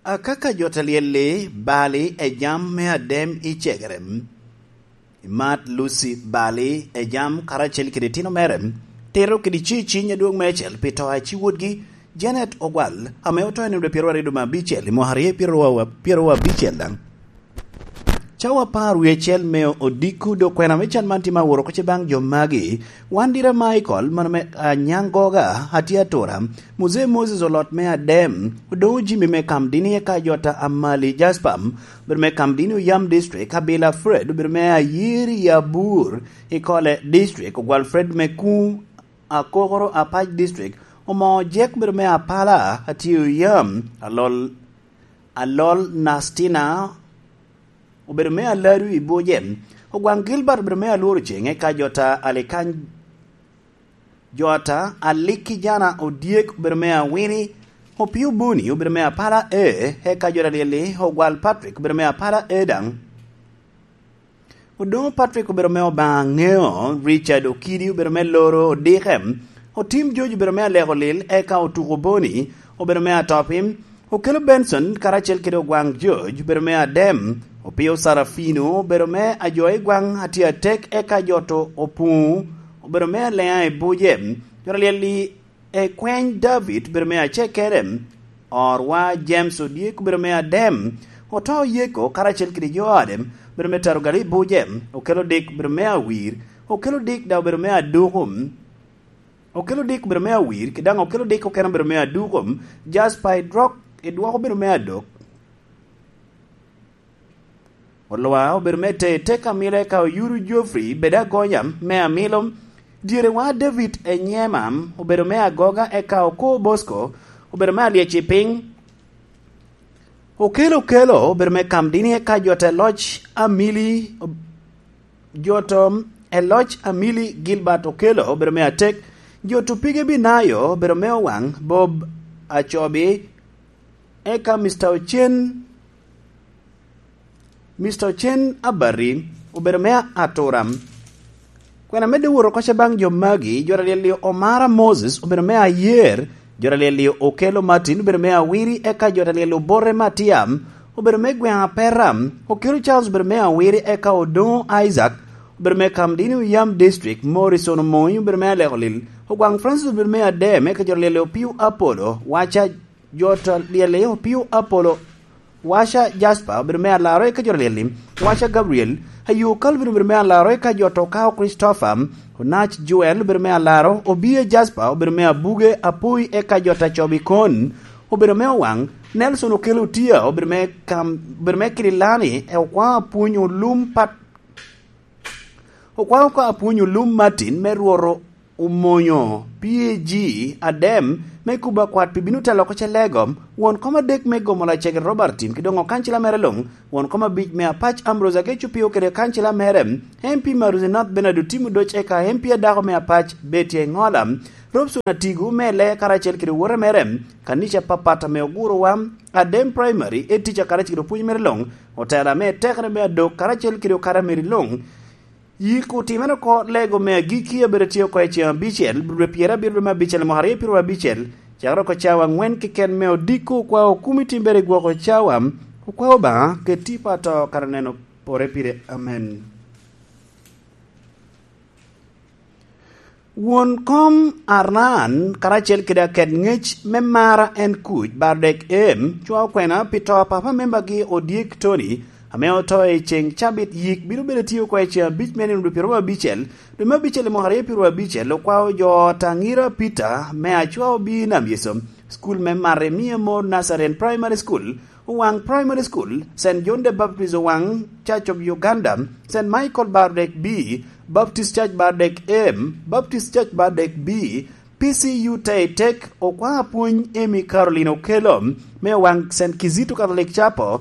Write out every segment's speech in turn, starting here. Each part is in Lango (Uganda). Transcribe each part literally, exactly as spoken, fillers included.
Akaka jo ta lyel-li, Bali, Ejam me Adem i Cegerem, Imat Lucy Bali, Ejam, karacel kede itino mere, Tito kede Ceciny adwoŋ meicel pi to a ci wotgi, Janet Ogwal, ame oto i nino pyeraryo domo abicel i mwaka aryo pyeraryo abicel daŋ. Cawa apar wie acel me odiko dok kwena me can man tye ma aworo oko ce baŋ jo magi. Wan dira Michael, mano me Anyangoga, atye atura. Muzee Moses Olot me Adem, Odoŋo Jimmy me Kamdini eka Jota Amali Jasper, obedo me Kamdini Oyam District, Abila Fred, obedo me Ayiri Abur, Ikole District, Ogwal Fred me Kuŋ, Akokoro Apac District, Omo Ojek, obedo me Apala, atye Oyam, Alol, Alol Nastina, obedo me Aladu i Buje, Ogwaŋ Gilbert obedo me Alworo Ceŋ, eka Jota Alikany, Jota Alikijana Odyek obedo me Awini, Opio Boni obedo me Apala A, eka Jota Lyeli, Ogwal Patrick obedo me Apala A daŋ. Odoŋo Patrick obedo me Obaŋa Ŋeo, Richard Okidi obedo me Loro Odike, Otim George obedo me Aleko Lil, eka Otuko Boni obedo me Atopi, Okelo Benson karacel kede Ogwaŋ George obedo me Adem, Opio Sarafino obedo me Ajoa i Gwaŋ Atye Atek, eka Joto Opuŋo obedo me Aleŋa i Buje, Jota Lyeli, Ekweny David obedo me Acekere, Orwa James Odyek obedo me Adem, Oto Yeko karacel kede jo ode obedo me Tarogali i Buje, Okelo Dik obedo me Awir, Okelo Dik daŋ obedo me Aduku, Okelo Dik obedo me Awir, kede daŋ Okelo Dik okene obedo me Aduku, Jasper Idwok, Idwok obedo me Adok. Olwa obedo me Te, Teka Amilo, eka Oyuru Geoffrey, Bed Agonya me Amilo, Dyerewa David Enyema obedo me Agoga, eka Oko Bosco obedo me Alyec i Piny, Okelo Okelo obedo me Kamdini, eka Jota Eloc Amili, Jota Eloc Amili Gilbert Okelo obedo me Atek, Jota Opige Binayo obedo me Owaŋ, Bob Acobi, eka Mister Ocen, Mister Ocen Abari obedo me Atura. Kwena medde wot oko ce baŋ jo magi, Jota Lyeli Omara Moses obedo me Ayer, Jota Lyeli Okelo Martin obedo me Awiri, eka Jota Lyeli Obote Matia obedo me Gweŋ Apera, Okelo Charles obedo me Awiri, eka Odoŋo Isaac obedo me Kamdini Oyam District, Morrison Omoŋi obedo me Aleko Lil, Ogwaŋ Francis obedo me Adem, eka Jota Lyeli Opio Apolo, Waca Jota Lyeli Opio Apolo, Waca Jasper obedo me Alaro, eka Jota Lyeli, Waca Gabriel, Ayo Calvin obedo me Alaro, eka Jota Okao Christopher, Onac Joel obedo me Alaro, Obia Jasper obedo me Abuge Apoi, eka Jota Cobi Kon obedo me Owaŋ, Nelson Okelo Otia obedo me Kam, obedo me Kirilani, e Okwaŋ Apwony Olum Pat, Okwaŋ Okwaŋ Apwony Olum Martin me Rworo Omonyo, P A G, Adem, me kubo akwat pi bino telo oko ce lego, won kom adek me gomo lacege Robert Tim, ki doŋ okancila mere luŋ, won kom abic me Apac Ambrose Ageco Pio kede okancila mere, M P Maruzi North Bernard Otim Odoc, eka M P adako me Apac Betty Engola, Robson Atigo me Lee karacel kede owote mere, kanica apapat ame ogurowa, Adem Primary, Etica karacel kede opwony mere luŋ, otela me tekere me adok karacel kede okara meri luŋ, Yik otimere oko lego me agikki a bedo tye oko i ceŋ abicel, dwe pyerabiro dwe me abicel, mwaka aryo pyeraryo abicel, cakere oko cawa aŋwen keken me odiko okwa okumi timbere i gwoko cawa, okwa Obaŋa, keti pa to kara neno pore pire. Amen. Won kom Aran, karacel kede aket ŋec me Mara en Kuc, Bardek Em, cwa okwena pi to a papa membagi Odyek Tony, ame oto i ceŋ cabit. Yik bino bedo tye oko i ceŋ abic me nino dwe pyeraryo abicel, dwe me abicel i mwaka aryo pyeraryo abicel. Okwao jo ot Aŋira Peter me Acwa Obi Nam Yeso, School me Maremia More Nazarene Primary School, Owaŋ Primary School, Saint John the Baptist Owaŋ, Church of Uganda, Saint Michael Bardek B, Baptist Church Bardek M, Baptist Church Bardek B, P C U Taitek, Okwaŋ Apwony Amy Caroline Okello, me Owaŋ Saint Kizito Catholic Chapel,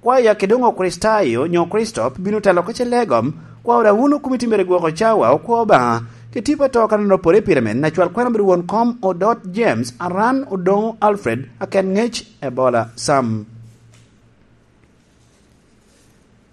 kwaya kede doŋ Okricitayo nyo Kricito bino telo oko ce lego, kwao daŋ wun okomiti mere gwoko cawa, okwa Obaŋa, keti pa to kara nino pore pire men, acwal kwena bedo won kom Odot James, Aran Odoŋo Alfred, aket ŋec Ebola Sam.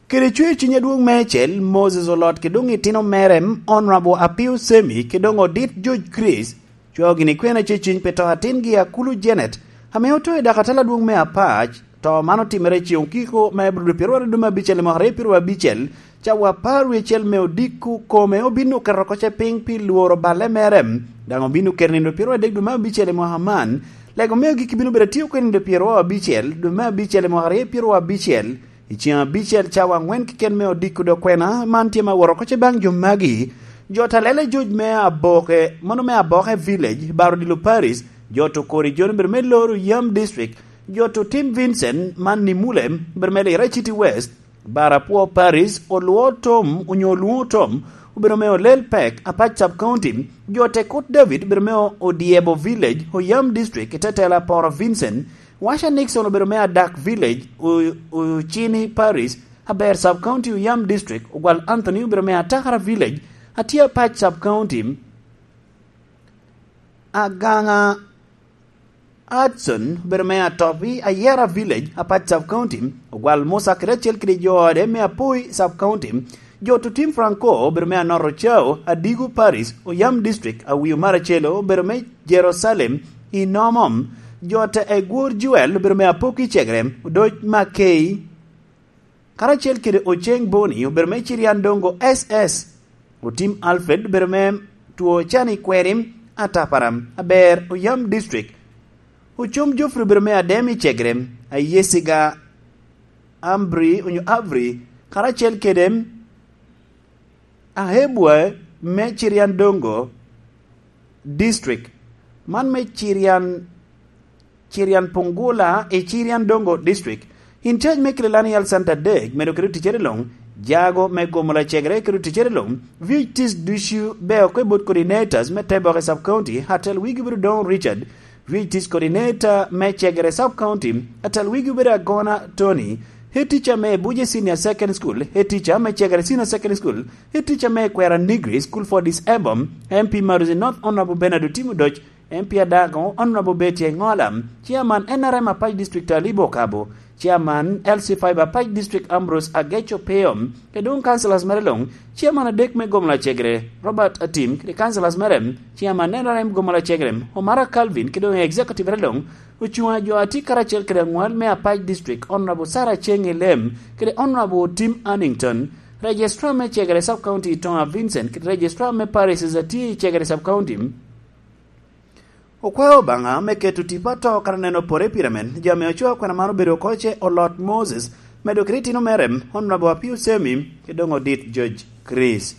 Kede cwer ciny adwoŋ meicel, Moses Olot kede doŋ itino mere, Honorable Apio Semi kede doŋ Odit George Chris, cwao gini kwena ceciny pi to atingi Akulu Janet, ame oto i dakatala adwoŋ me Apac, To man otimere i ceŋ okiko me Abril pyeru aryo dwe me abicel i mwaka aryo pyeru abicel, cawa apar wie acel me odiko kome obin oketo oko ce piny pi lworo balle mere, daŋ obin oketo nindo pyeru adek dwe me abicel i mwaka man. Lego me agikki bino bedo atye oko i nindo pyeru abicel dwe me abicel i mwaka aryo pyeru abicel, i ceŋ abicel cawa aŋwen keken me odiko dok kwena man tye ma woro oko ce baŋ jo magi. Jo Talele George me Aboke, mano me Aboke Village, Baro Dilo Parish, jo to Kori John obedo me Loro Yam District, jo to Tim Vincent man Nimule obedo me Lira City West, Barapwo Parish, Olwo Tom onyo Olwo Tom obedo me Olel Pek, Apac Sub County, jo Tekut David obedo me Odyebo Village, Oyam District, i te tela Poro Vincent, Washa Nixon obedo me Adak Village, O-, Ocini Parish, Aber Sub County, Oyam District, Ogwal Anthony obedo me Atakara Village, Atia Pac Sub County, Aganga Hudson obedo me Atopi, Ayera Village, Apac Sub County, Ogwal Musa kede acel kede jo ode me Apoi Sub County, jo Tutim Franco obedo me Anoro Cao, Adigu Parish, Oyam District, Awio Maracelo obedo me Jerusalem, Inomom, jo te Egwor Joel obedo me Apoki Cegere, Odoc Makei, karacel kede Oceng Boni obedo me Cirian Dongo S S, Otim Alfred obedo me Two Cani Kweri, Atapara, Aber Oyam District, Ocom Geoffrey obedo me Adem i Cegere, Ayesiga Ambri onyo Avri, karacel kede Ahebwa me Cirian Dongo District, man me Cirian, Cirian Pungula i Cirian Dongo District. In charge me Kililani Health Center Dek medo kede ticere luŋ, jago me gomo lacegere kede ticere luŋ, V H Ts ducu beo oko i bot coordinators me Teboke Sub County, atel wigi obedo Don Richard, V H Ts coordinator me Cegere Sub County, atel wigi obedo Agona Tony, head teacher me Buje Senior Second School, head teacher me Cegere Senior Second School, head teacher me Kwera Negri School for Disabled, M P Maruzi North Honorable Bernard Otim Odoc, M P Adago Honorable Betty Engola, Chairman N R M Apac District Alibo Kabo, Chairman L C five Apac District Ambrose Ageco Peo, kede doŋ councillors mere luŋ, Chairman adek me Gomola Cegere, Robert Atim, kede councillors mere, Chairman N R M Gomola Cegere, Omara Calvin, kede doŋ executive mere luŋ, ocuŋ a jo a tye karacel kede aŋwal me Apac District, Honorable Sarah Cheng Elem, kede Honorable Tim Annington, Registrar me Cegere Sub County Tonga Vincent, kede Registrar me Parishes a tye i Cegere Sub County. Okwao Obaŋa me keto tipo ato kara neno pore pire men, jo ame ocoo kwena man obedo oko ce Olot Moses, medo kede itino mere, Honorable Apio Semi, kede doŋ Odit George Chris.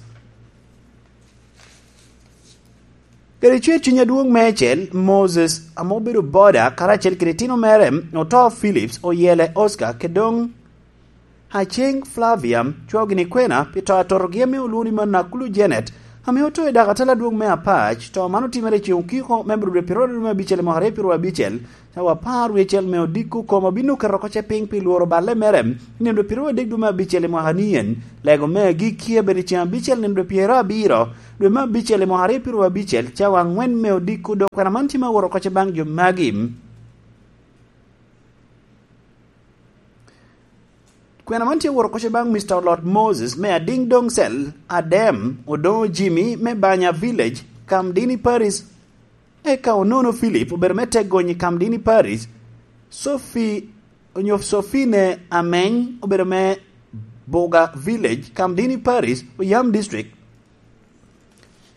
Kede cwer cuny adwoŋ meicel, Moses, ame obedo boda, karacel kede itino mere, Oto Phillips, Oyele Oscar, kede doŋ Aceng Flavia, cwaogi ni kwena, pi to atotogi ame olwoŋo ni Manakulu Janet, ame oto i dakatala adwoŋ me Apac, to man otimere i ceŋ okiko me Abril pyeru aryo dwe me abicel i mwaka aryo pyeru abicel, cawa apar wie acel me odiko kome obin oketo oko ce piny pi lworo balle mere, i nino pyeru adek dwe me abicel i mwaka ni en, lego me agikki abedo i ceŋ abicel nino pyeru abiro, dwe me abicel i mwaka aryo pyeru abicel, cawa aŋwen me odiko, dok kwena man tye me woro oko ce baŋ jo magi. Kwena man tye woro oko ce baŋ Mister Olot Moses me Adiŋ Doŋ Cell, Adem, Odoŋo Jimmy me Banya Village, Kamdini Paris, eka Onono Philip obedo me Tegony i Kamdini Paris, Sophie, onyo Sophine Ameny obedo me Buga Village, Kamdini Paris, Oyam District.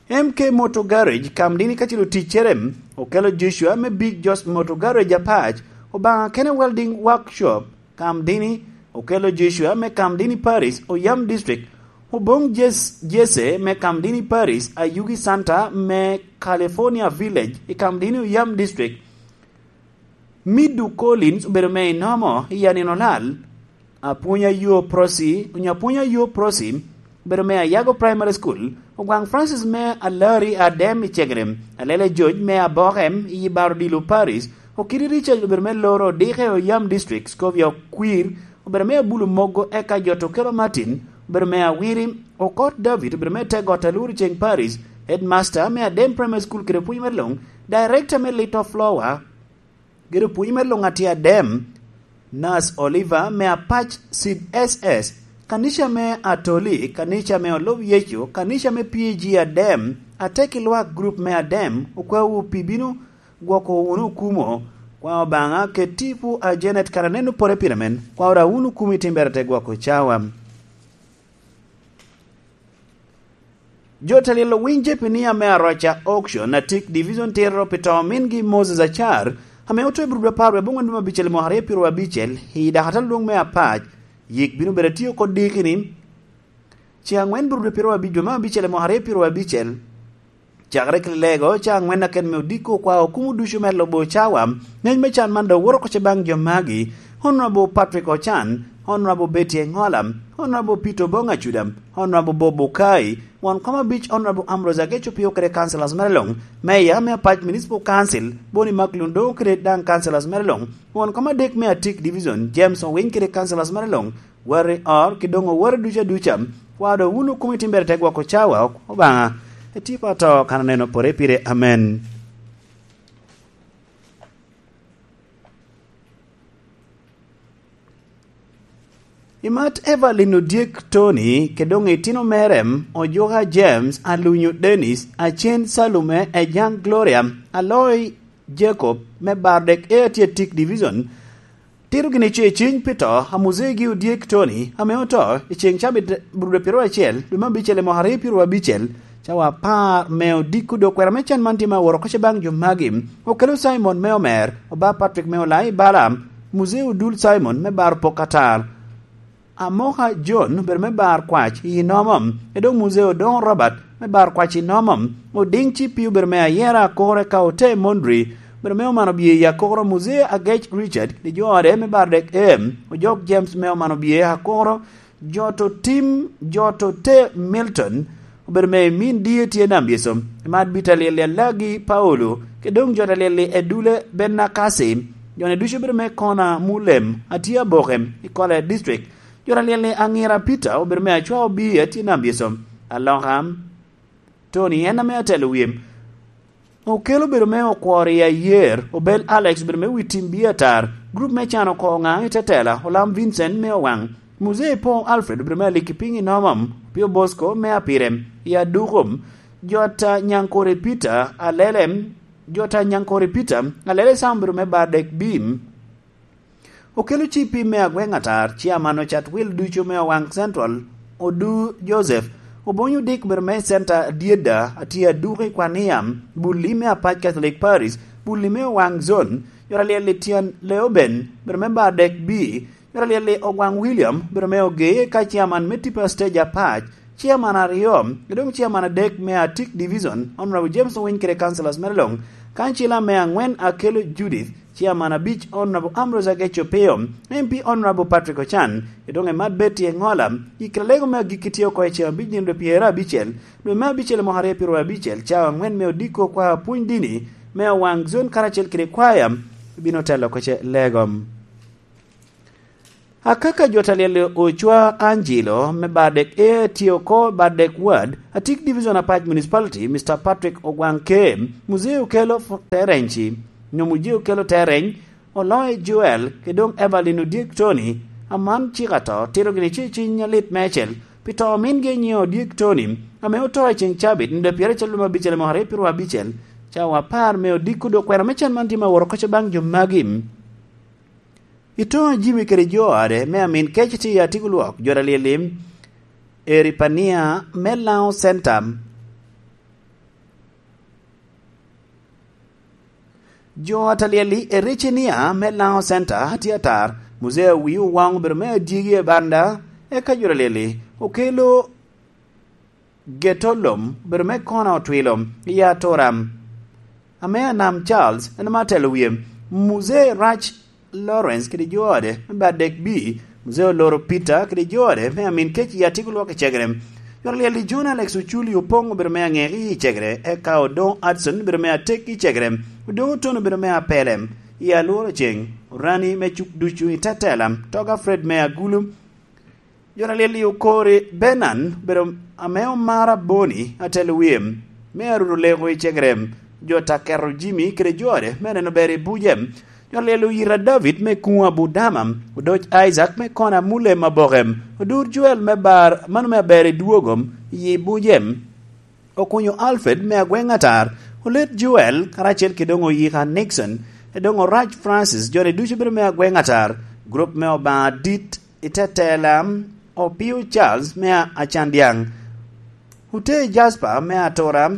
M K Motor Garage, Kamdini kacel oticcere, Okelo Joshua me Big Josh Motor Garage Apac, Obaŋa Kene Welding Workshop, Kamdini, Okelo Joshua me Kamdini Paris, Oyam District, Oboŋ Jes-, Jesse me Kamdini Paris, Ayugi Santa me California Village, i Kamdini Oyam District, Midu Collins obedo me Inomo i Anino Lal, Apwonya Yo Prosi, onyo Apwonya Yo Prosi, obedo me Ayago Primary School, Ogwaŋ Francis me Alari Adem i Cegere, Alele George me Aboke i Baro Dilo Paris, Okidi Richard obedo me Loro Dike Oyam District, Scovia Okwir obedo me Abulu Mogo, eka Jot Okelo Martin obedo me Awiri, Okot David obedo me Tegot Aluri Ceng Paris, Headmaster me Adem Primary School kede pwony me luŋ, Director me Little Flower, Gedo pwony me luŋ atye Adem, Nas Oliver me Apac Seed S S, kanica me Atoli, kanica me Olub Yecu, kanica me P A G Adem, Ateki Lwak Group me Adem, okwawu pi bino gwoko wunu okumo, Kwa Obaŋa, ket tipo a Janet kara nen opore pire men. Kwa ora wunu kumi timbere te gwoko cawa. Jo te lyel owiny Jepinia me Aroca Auction, Atik Division tito pi to omingi Moses Acar, ame oto i Burudu apar wie abongwen dwe me abicel mwaka aryo pyeraryo abicel, i dakata lwong me apac. Yik bino bedo atio kod diki ni, ce aŋwen Burudu pyeraryo abic dwe me abicel mwaka aryo pyeraryo abicel. Cakere kede lego, ca aŋwen aken me odiko kwa okumo ducu me lubo cawa, ngec me can man dok woto oko ce baŋ jo magi: Honorable Patrick Ocan, Honorable Betty Engola, Honorable Peter Obong Acuda, Honorable Bob Okai, won kom abic Honorable Ambrose Ageco Pio kede councillors mere luŋ, Mayor me Apac Municipal Council, Boni Maklun Doŋo kede daŋ councillors mere luŋ, won kom adek me Atik Division, James Owiny kede councillors mere luŋ, wari or, ki doŋ owari ducu aduca. Kwa do wunu kumi timbere te gwoko cawa, Obaŋa. Etipa to kan aneno pore pire. Amen. Imat Evelyn Odyek Tony, ke doŋ itino mere, Ojuka James, Alunyo Dennis, Acen Salume, Ejaŋ Gloria, Aloy Jacob, me Bardek A T Atik Division, tito gini ce ciny pi to a Muzei gi Odyek Tony, ame oto i ceŋ cabit Burudu pyeraryo acel, dwe me abicel i mwaka aryo pyeraryo abicel, cawa apar me odiko dok kwera me can man tye ma aworo oko ce baŋ jo magi. Okelo Simon me Omer, Oba Patrick me Olai Bala, Muzei Odul Simon me Bar Pok Atar, Amoka John obedo me Bar Kwac i Nomo, Edong Muzei Odongo Robert me Bar Kwac i Nomo, Oding Cipi obedo me Ayera Akoro, eka Ote Mondri obedo me Omano Bye i Akoro, Muzei Agec Richard kede jo ode me Bardek A, Ojok James me Omano Bye Akoro, Joto Tim, Joto Te Milton obedo me Min Dye tye Nam Yecu, Imat Bita Lyel Alagi Paulo, kede doŋ Jota Lyel Edule Benakasi, joni ducu obedo me Kona Mulem, atye Aboke, i Kole District. Jota Lyel Aŋira Peter obedo me Acwa Obi, atye Nam Yecu. Aloka, Tony en ame atelo wie. Okelo obedo me Okwor i Ayer, Obel Alex obedo me Witim Bie Atar, grup me Can Oko Oŋaŋ i Tetela, Olam Vincent me Owaŋ, Muzei Paul Alfred obedo me Aliki Piny i Nomom, Pio Bosco me Apire i Aduko, Jota Nyankore Peter Alele, Jota Nyankore Peter Alele Sam obedo me Bardek Bim. Okelo cipi me agweŋ atar, ciaman ocat wil ducu me Owaŋ Central, Odu Joseph, Obonyo Dick obedo me Center Adyeda, atye Aduko i Kwania, Bulli me Apac Catholic Parish, Bulli me Owaŋ Zone, Jora Lyel i Tyen Leoben obedo me Bardek B, Jora Lyel i Ogwaŋ William obedo me Ogee ka ciaman me Tipa Stage Apac, ciaman aryo, doŋ ciaman adek me Atik Division, Honorable James Owiny kede councillors mere luŋ, kancila me aŋwen Akelo Judith, ciaman abic Honorable Ambrose Ageco Pio, M P Honorable Patrick Ochan, doŋ Emat Betty Engola, i kite lego me agikki tye oko i ceŋ abic nino dwe pyeraryo abicel, dwe me abicel mwaka aryo pyeraryo abicel, cawa aŋwen me odiko kwa pwony dini me Owaŋ Zone karacel kede kwaya, bino telo oko ce lego. Akaka Jota Lyel Ocwa Angelo me Bardek A tye oko Bardek Ward, Atik Division Apac Municipality, Mister Patrick Ogwaŋ K, Muzei Okelo F-, Terenci, nyo Muzei Okelo Tereny, Oloy Joel, kede doŋ Evelyn Odyek Tony, aman cik ato, tito gini ce ciny alit meicel, pi to omingi nyiŋe Odyek Tony, ame oto i ceŋ cabit, nino dwe pyeraryo acel lum abicel i mwaka aryo pyeraryo abicel, cawa apar me odiko dok kwena me can man tye ma woro oko ce baŋ jo magi. Itoŋ a Jimmy kede jo ode, me amin kec tye i Atiko Lwok, jo Alyel-li, Eripania me Laŋo Center. Jo Alyel-li, Ericinia me Laŋo Center, tye atar, Muzea Wii Owaŋ obedo me adyegi e banda, eka jo Alyel-li, okelo Getolom obedo me Kona Otwilo, i Atura, ame Anam Charles en ame atelo wie. Muzee Rac Lawrence kede jo ode me Badek B, Muzee Oloro Peter kede jo ode me amin kec i Atiko Lwok i Cegere. Jora Lyel-li, John Alex Oculi Opoŋ obedo me Aŋeki i Cegere, eka Odoŋo Hudson obedo me Atek i Cegere, Odoŋo Oton obedo me Apele, i Alworo Ceŋ, Orani me Cuk Ducu i Tetela, Toga Fred me Agulu, Jo Alyel-li, Okori Benan obedo ame omaro Aboni atelo wie, me aruto leko i Cegere, jo Taketo Jimmy kede jo ode me neno ber i buce. Jo Alyel-li, Oyira David me Kuŋo Abudama, Odoc Isaac me Kona Mule Maboke, Odur Joel me Bar, mano me Aber i Dwogo, i buce. Okunyo Alfred me Agweŋ Atar, Olet Joel, karacel kede doŋ Oyika Nixon, Edoŋ Orac Francis, joni ducu bedo me agweŋ atar, grup me Obaŋa dit i te tela, Opio Charles me Acandyaŋ, Utee Jasper me Atura,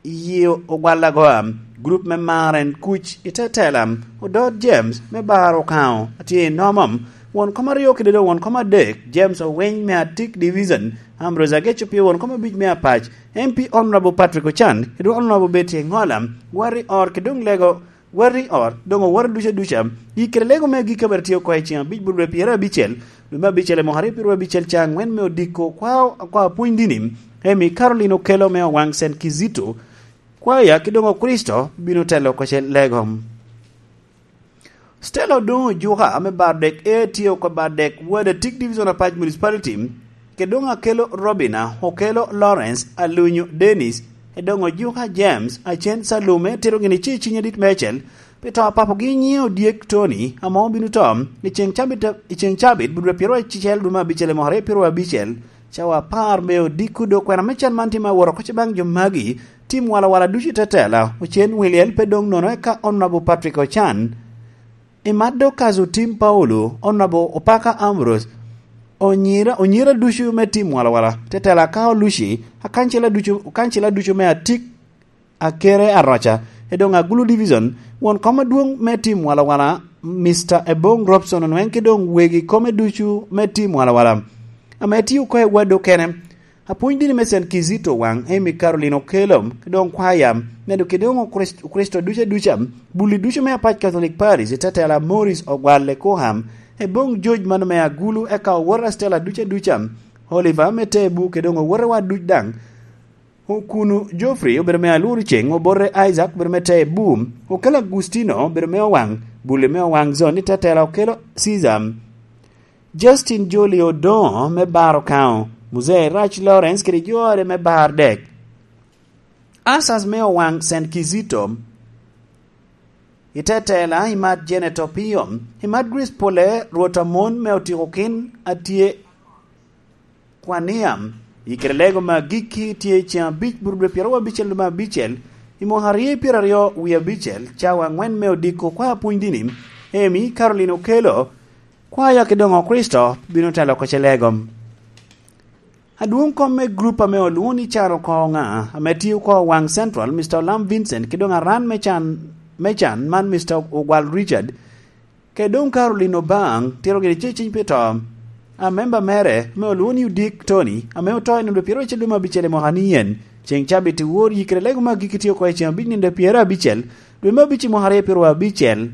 Yio Ogwal Agoa, grup me Maren Kuc i te tela, Odot James me Bar Okaŋo atye i nomom, won kom aryo kede doŋ won kom adek, James Owiny me Atik Division, Ambrose Ageco Pio won kom abic me Apac, M P Honorable Patrick Ochan, kede Honorable Betty Engola, Wari Or kede doŋ Lego Wari Or, doŋ owoto duca duca. Yikkere lego me agikki a bere tye oko i ceŋ abic burubere pyerabicel, dwe me abicel i mwaka aryo pyerabicel ca angwen me odiko kwa, kwa pwony dini, Emi Caroline Okello me Owaŋ Saint Kizito, kwaya ki doŋ Okricito bino telo oko ce lego. Stella Odoŋo Ojuka ame bar dek A tye oko bar dek Wada Tik Division Apac Municipality, ke doŋ Akello Robina, Okello Lawrence, Alunyo Dennis, Edoŋo Ojuka James, Acen Salume, tito gini ci i ciny adit meicel, pi to a papogi nyiŋe Odyek Tony, ame obino to i ceŋ cabit, i ceŋ cabit, budwe pyeraryo acel dwe me abicel i mwaka aryo pyeraryo abicel, cawa apar me odiko. Dok kwena me can man tye me awot oko ce baŋ jo magi, tim walawala ducu i te tela, Ocen Williel pe doŋ nono eka Honorable Patrick Ochan, Imat Dorcas Otim Paulo, Honorable Opaka Ambrose, onyira, onyira ducu me tim walawala, tetela ka oluci, akancela ducu, akancela ducu me Atik, Akere Aroca, Edoŋ Agulu Division, won kom adwoŋ me tim walawala, Mister Ebong Robson Onweng, ki doŋ wegi kome ducu me tim walawala, ame tye oko i wad okene. Apwony dini me Saint Kizito Owaŋ, Amy Caroline Okello, ki doŋ kwaya, medo kede doŋ Okrist-, Okricito duca duca, bulli ducu me Apac Catholic Parish, i te tela Morris Ogwal Ekoham, Ebong George mano me Agulu, eka owote Stella duca duca, Oliver me Tebu, kede doŋ owote wa duc daŋ. Okunu Geoffrey obedo me Alur Ceŋ, Obote Isaac obedo me Tebu, Okello Agustino obedo me Owaŋ, bulli me Owaŋ Zone, i te tela Okello Caesar. Justin Joli Odoŋo me Bar Okaŋo, Muzee Rac Lawrence kede jore me Bar Dek, Asas me Owaŋ Saint Kizito, i te tela Imat Janet Opio, Imat Grace Pole, Rwot Amon me Otikokin atye Kwania, i kede lego me agikki tye i ceŋ abic burubwe pyeraryo abicel dwe me abicel, i mwaka aryo pyeraryo wie abicel, cawa angwen me odiko kwa apwony dini, Amy Caroline Okello, Kwaya ki doŋ Okricito bino telo oko ce lego. Adwoŋ kom me grup ame olwoŋo ni Can Oko Ŋa, ame tye oko Owaŋ Central, Mister Olam Vincent, ki doŋ aran me can, me can man Mister Ogwal Richard, ke doŋ Caroline Obaŋ, tito gire ce ciny pi to. A memba mere, ame olwoŋo ni Odik Tony, ame oto i nino pyeraryo acel dwe me abicel i mwaka ni en, ceŋ cabit i wor yikkere lego me agikki tye oko i ceŋ abic nino pyerabicel, dwe me abic i mwaka aryo pyeraryo abicel.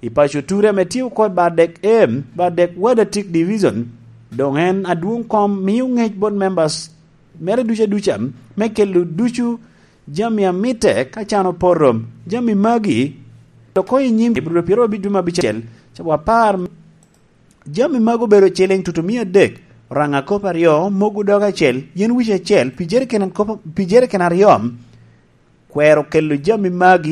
I paco Ture ame tye oko i Bardek A, Bardek Wadatik Division, doŋ en adwoŋ kom mio ŋec bot members mere duca duca me kelo ducu jami amitte ka can opoto. Jami magi oko i nyim Ibru pyeraryo abic dwe me abicel, cawa apar. Jami magi obedo ciliŋ tutumia adek, raŋa kop aryo, mogo dog acel, yen wic acel, pi jeriken kop, pi jeriken aryo. Kwero kelo jami magi